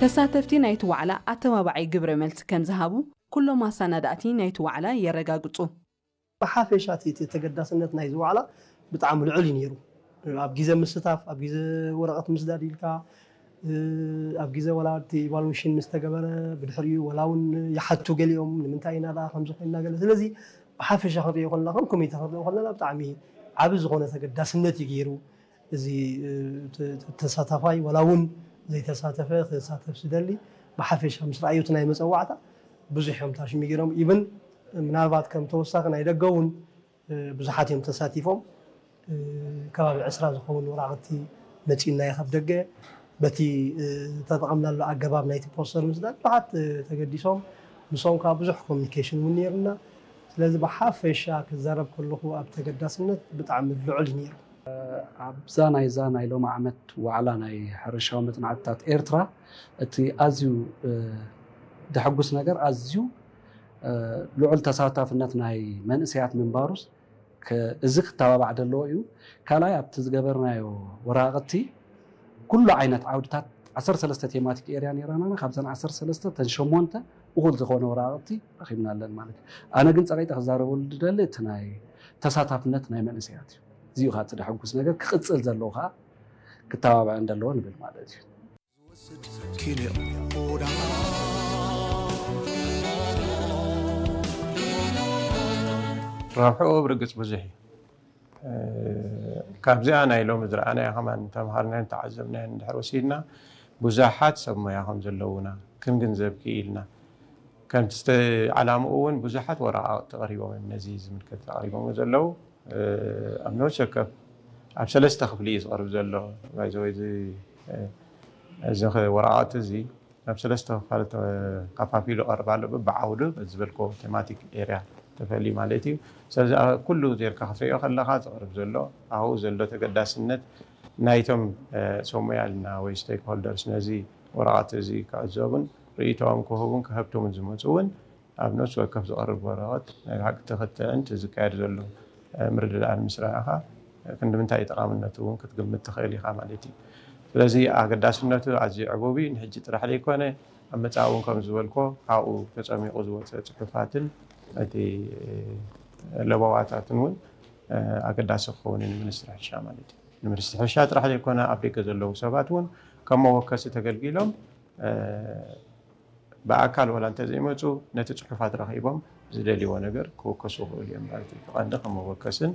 ተሳተፍቲ ናይቲ ዋዕላ ኣተባባዒ ግብረ መልሲ ከም ዝሃቡ ኩሎም ኣሰናዳእቲ ናይቲ ዋዕላ የረጋግጹ። ብሓፈሻ እቲ ተገዳስነት ናይዚ ዋዕላ ብጣዕሚ ልዑል እዩ ነይሩ። ኣብ ግዜ ምስታፍ፣ ኣብ ግዜ ወረቐት ምስዳድ ኢልካ ኣብ ግዜ ወላ እቲ ኢቫሉሽን ምስ ተገበረ ብድሕሪኡ ወላ እውን ይሓቱ ገሊኦም ንምንታይ ኢና ደኣ ከምዚ ኮይንና ገለ። ስለዚ ብሓፈሻ ክንሪኦ ከለና ከም ኮሚተ ክንሪኦ ከለና ብጣዕሚ ዓቢ ዝኾነ ተገዳስነት እዩ ገይሩ። እዚ ተሳታፋይ ወላ እውን ዘይተሳተፈ ክሳተፍ ዝደሊ ብሓፈሻ ምስ ረኣዩ እቲ ናይ መፀዋዕታ ብዙሕ እዮም ታሽሚ ገይሮም። ኢብን ምናልባት ከም ተወሳኺ ናይ ደገ እውን ብዙሓት እዮም ተሳቲፎም። ከባቢ ዕስራ ዝኸውን ወራቕቲ መፂኡና እዩ ካብ ደገ። በቲ ተጠቐምናሉ ኣገባብ ናይቲ ፖስተር ምስዳድ ብዙሓት ተገዲሶም። ምስኦም ከዓ ብዙሕ ኮሚኒኬሽን እውን ነይሩና። ስለዚ ብሓፈሻ ክዛረብ ከለኹ ኣብ ተገዳስነት ብጣዕሚ ልዑል እዩ ነይሩ። ኣብዛ ናይዛ ናይ ሎሚ ዓመት ዋዕላ ናይ ሕርሻዊ መፅናዕትታት ኤርትራ እቲ ኣዝዩ ደሐጉስ ነገር ኣዝዩ ልዑል ተሳታፍነት ናይ መንእሰያት ምንባሩስ እዚ ክተባባዕ ዘለዎ እዩ። ካልኣይ ኣብቲ ዝገበርናዮ ወራቕቲ ኩሉ ዓይነት ዓውድታት ዓሰርተ ሰለስተ ቴማቲክ ኤርያ ነይራና። ካብዘን ዓሰርተ ሰለስተ ተን ሸሞንተ እኹል ዝኾነ ወራቕቲ ረኺብና ኣለን ማለት እዩ። ኣነ ግን ጸቒጠ ክዛረበሉ ዝደሊ እቲ ናይ ተሳታፍነት ናይ መንእሰያት እዩ። እዚኡ ከዓ እቲ ደሐጉስ ነገር ክቕጽል ዘለዎ ከዓ ክተባብዐ እንደለዎ ንብል ማለት እዩ። ረብሕኡ ብርግጽ ብዙሕ እዩ። ካብዚኣ ናይ ሎሚ ዝረኣናያ ከማን ተምሃርናዮን ተዓዘብናዮን እንድሕር ወሲድና ብዙሓት ሰብ ሞያ ከም ዘለዉና ክንግንዘብ ክኢልና። ከምቲ ዝተ- ዓላምኡ እውን ብዙሓት ወረቓቕቲ ቀሪቦም እዮም ነዚ ዝምልከት ኣቕሪቦም ዘለዉ። ኣብ ነብሲ ወከፍ ኣብ ሰለስተ ክፍሊ እዩ ዝቐርብ ዘሎ። ባይዘወይ እዚ እዚ ወረቓቕቲ እዚ ናብ ሰለስተ ክፋል ተኸፋፊሉ ይቐርብ ኣሎ። በብዓውዱ ዝበልኮ ቴማቲክ ኤርያ ተፈልዩ ማለት እዩ። ስለዚ ኩሉ ዜርካ ክትሪኦ ከለኻ ዝቐርብ ዘሎ ኣብኡ ዘሎ ተገዳስነት ናይቶም ሰብ ሞያ ኢልና ወይ ስቴክ ሆልደርስ ነዚ ወረቓቕቲ እዚ ክዕዘቡን ርእይቶኦም ክህቡን ከህብትሙን ዝመፁ እውን ኣብ ነፍሲ ወከፍ ዝቐርብ ወረቐት ናይ ብሓቂ ተኽትዕን እቲ ዝካየድ ዘሎ ምርድዳእን ምስ ረኣኻ ክንዲ ምንታይ ጠቓምነቱ እውን ክትግምት ትኽእል ኢኻ ማለት እዩ። ስለዚ ኣገዳስነቱ ኣዝዩ ዕቡብ እዩ። ንሕጂ ጥራሕ ዘይኮነ ኣብ መጻኢ እውን ከም ዝበልኮ ካብኡ ተጸሚቑ ዝወጸ ጽሑፋትን እቲ ለበዋታትን እውን ኣገዳሲ ክኸውን እዩ ንሚኒስትሪ ሕርሻ ማለት እዩ። ንሚኒስትሪ ሕርሻ ጥራሕ ዘይኮነ ኣብ ደገ ዘለዉ ሰባት እውን ከም መወከሲ ተገልጊሎም ብኣካል ዋላ እንተዘይመፁ ነቲ ፅሑፋት ረኺቦም ዝደልይዎ ነገር ክወከሱ ይኽእሉ እዮም ማለት እዩ። ቀንዲ ከም መወከስን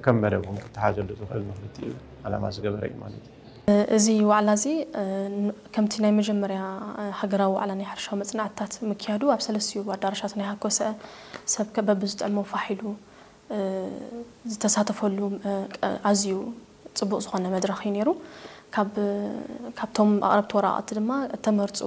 ከም መደብ እውን ክተሓዘሉ ዝኽእል ንክልቲኡ ዓላማ ዝገበረ እዩ ማለት እዩ። እዚ ዋዕላ እዚ ከምቲ ናይ መጀመርያ ሃገራዊ ዋዕላ ናይ ሕርሻዊ መፅናዕትታት ምክያዱ ኣብ ሰለስቲኡ ኣዳራሻት ናይ ሃኮሰ ሰብ በብዝጥዕሞ ፋሕ ኢሉ ዝተሳተፈሉ ኣዝዩ ፅቡቕ ዝኾነ መድረኽ እዩ ነይሩ። ካብቶም ኣቕረብቲ ወረቓቕቲ ድማ እተመርፁ